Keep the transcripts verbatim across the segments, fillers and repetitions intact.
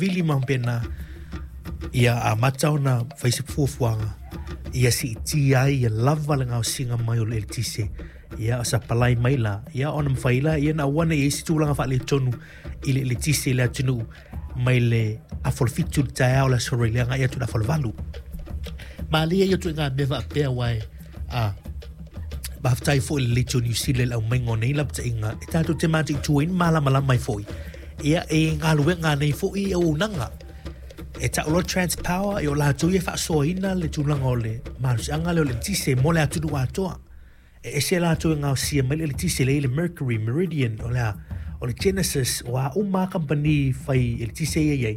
savili ma faapena ia amata ona fai se fuafuaga ia siitia ai ia lava le gaosiga mai o le eletise ia o sapalai mai la ia ona mafai lea ona aua nei i ai se tulaga faaletonu i le eletise i le atunuu mai le afa o le fitu i le taeao o le Aso Faraile agai atu i le afa o le valu. Malie ia ituaiga mea faapea aua e a faafetai foi i le Leitio Niu Sila i le aumaiga o nei lapataiga e tatou te mataituina malamalama ai foi ia e galuega nei foi auaunaga e tau loa Transpower e o latou ia e faasoaina le tulaga o le malosiaga lea o le eletise mo le atunuu atoa. E ese latou e gaosia mai le eletise lea i le Mercury, Meridian, o le a, o le Genesis, o a uma lava kamupani fai eletise ia e i ai,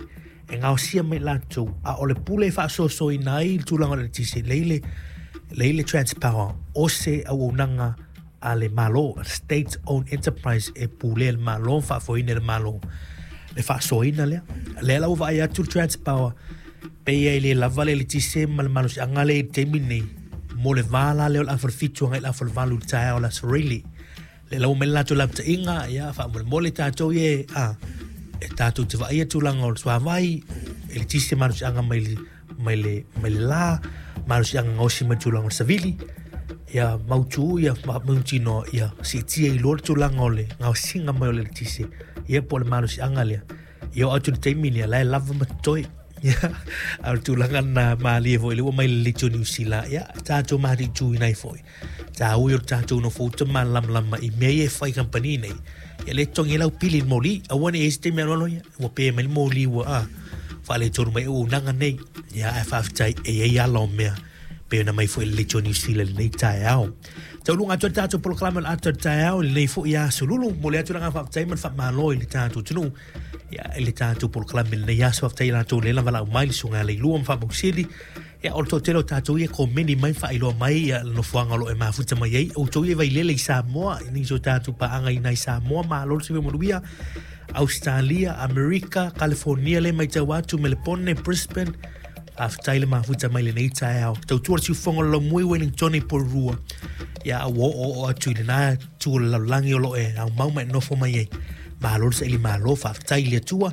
e gaosia mai latou, a o le pule e faasoasoaina ai le tulaga o le eletise, lea i le, lea i le Transpower, o se auaunaga a le Malo, state owned enterprise e pulea e le Malo, faafoeina e le Malo le faasoaina lea. Lea la ua vaai atu le Transpower, pei e le lava le eletise ma le malosiaga lea i le taimi lenei mo le va la lea o le afa o le fitu agai i le afa o le valu i le taeao o le Aso Faraile. Lea la ua aumai le latou lapataiga, ia faamolemole tatou ia a, e tatou te vaaia tulaga o le suavai, eletise malosiaga mai le, mai le, mai le la, malosiaga gaosi mai le tulaga o le savili, ia mautu ia mautinoa ia siitia i luga le tulaga o le gaosiga mai o le eletise, ia po o le malosiaga lea. Ia oo atu i le taimi lea, la e lava ma totoe. Ia, a o le tulaga lena malie foi lea ua aumai le Leitio Niu Sila, ia tatou mataituina ai foi. Taua ia o le tatou nofouta malamalama i mea ia e fai i kamupani nei. Ia lea e totogi ai lau pili i le moli. Aua ne i i ai se taimi alualu ia, ua pe mai le moli ua a, faaletonu mai auaunaga nei. Ia, ae faafetai e i ai ala o mea pei ona aumai foi i le Leitio Niu Sila i lenei taeao. Taualuga atu ai le tatou polokalame o le ata o le taeao i lenei foi aso lulu. Momoli atu le agaga faafetai ma le faamalo i le tatou atunuu ia, i le tatou polokalame i lenei aso. Faafetai i latou lea lava lau mai le susuga ia Leilua ma Faamausili. Ia, o le toatele o tatou ia e komeni mai ma faailoa mai ia le nofoaga o lo o e mafuta mai ai. Outou ia e vailele i Samoa, i nisi o tatou paaga i inā i Samoa, malo le soifua manuia. Ausetalia, Amerika, Kalifonia lea e matau atu, Melepone, Brisbane, faafetai le mafuta mai lenei taeao. Tautua le siufofoga o le laumui Wellingtone i Porirua. Ia, ua oooo atu i lena itu o le lalolagi o lo o e aumau ma e nofo mai ai. Malo le saili malo, faafetai i le Atua.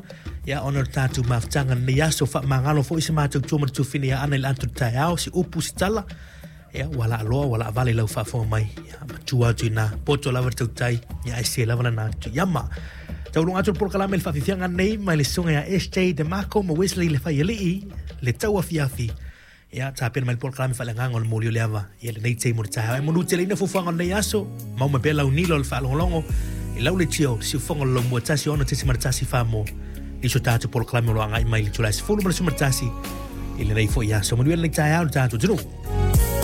Ia, ona o le tatou mafutaga i lenei aso, faamagalo foi se matou tua ma le tuafine ia Ana i le ata o le taeao, se upu, se tala. Ia, ua laaloa, ua laavale i lau faafofoga mai. Ia, matua atu i ina, poto lava le tautai, ia ae se lava lana atu i ama. Taualuga atu le polokalame i le faafiafiaga nei mai le susuga ia S J DeMarco ma Wesley Le Faialii, le tauafiafi. Ia, tapena mai le polokalame faaleagaga o le moli o le ava ia lenei taimi o le taeao. E manuteleina fuafuaga o lenei aso, mau mai pea lau nila o le faalogologo i lau leitio, le siufofoga o le laumua tasi ono tesimale tasi fa mo nisi o tatou polokalame o lo o agai mai i le itula e sefulu ma le sefulu ma le tasi i lenei foi aso. Manuia lenei taeao i le tatou atunuu.